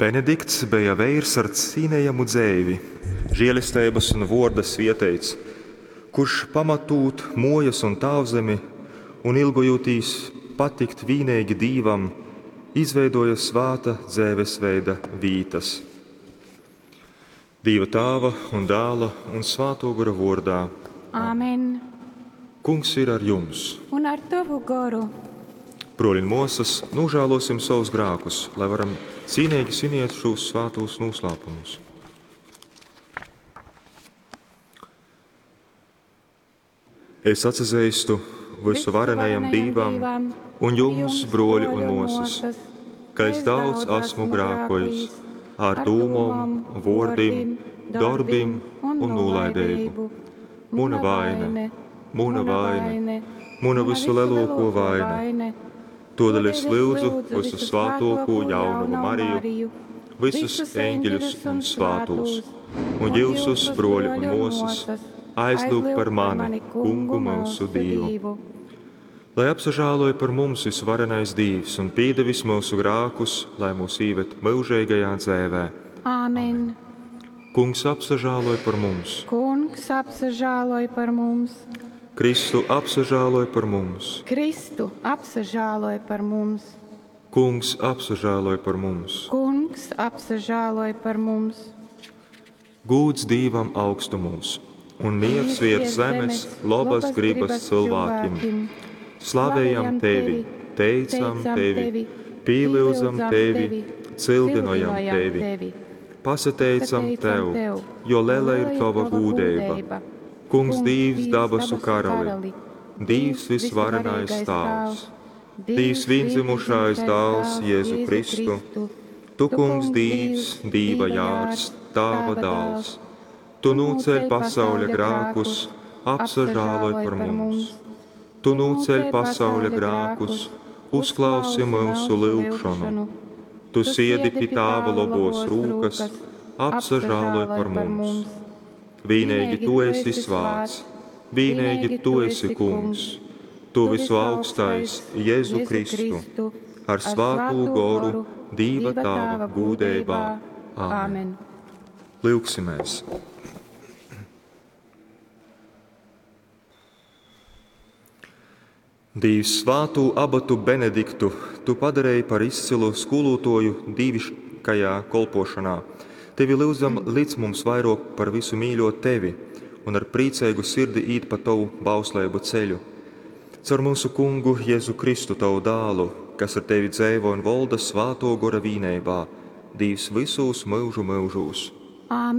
Benedikts beja veirs ar cīnejamu dzeivi, želesteibas un vōrda svieteits, kurš, pamatūt mōjas un tāvzemi un ilgojūtīs patikt vīneigi Dīvam, izveidōja svāta dzeivesveida vītas. Dīva Tāva un Dāla un Svātō Gora vōrdā. Āmen. Kungs ir ar jums. Un ar tovu goru. Brōļi un mōsas, nožēlosim savus grākus, lai varam cīnīgi sviniet šos svātos noslēpumus. Es atsazeistu vysuvarenajam Dīvam un jums, brōļi un mōsas, ka es daudz esmu grākojis ar dūmom, vōrdim, dorbim un nūlaideibu. Muna vaine, muna vaine, muna vysulielākā vaine. Todēļ es lūdzu visu svātāko jaunavu Mariju, visus eņģeļus un svātos, un jūsus, broļi un mūsas, aizlūgt par mani, Kungu mūsu Dievu. Lai apsažāloja par mums visvarenais Dievs un piedevis mūsu grākus, lai mūs īved mūžīgajā dzēvē. Āmen. Kungs apsažāloj par mums. Kungs apsažāloj par mums. Kristu apsažāloj par mums. Kristu apsažāloj par mums. Kungs apsažāloj par mums. Kungs apsažāloj par mums. Gūds Dīvam augstumūs un miers virs zemes labas gribas cilvēkiem. Slavējam tevi, teicam tevi, pīlyudzam tevi, cildinojam tevi. Pasateicam tev, jo lela ir tava gūdeiba. Kungs Dīvs dabasu karali, Dīvs visvarenais Tāvs, Dīvs viendzimušais dāls Jēzu Kristu, Tu, Kungs Dīvs, Dīva jārs, Tāva dāls, Tu nūceļ pasauļa grākus, apsažāloj par mums. Tu nūceļ pasauļa grākus, uzklausi mūsu lūgšanu. Tu siedi pie Tāva labos rūkas, apsažāloj par mums. Vienīgi Tu esi svāts, vienīgi Tu esi Kungs, Tu visu augstais Jēzu Kristu, ar svātū goru Dīva Tāva gūdeibā. Āmen. Lūgsimies! Dīvs svātū abatu Benediktu tu padarīji par izcilu skolotāju dīviškajā kolpošanā. Tevi lūdzam, lic mums vairāk par visu mīļot tevi un ar priecīgu sirdi īt pa tavu bausleibu ceļu. Caur mūsu kungu Jēzu Kristu, tavu dālu, kas ar tevi dzeivo un volda svāto gora vīneibā, Dīvs visūs mūžu mūžūs. Āmen.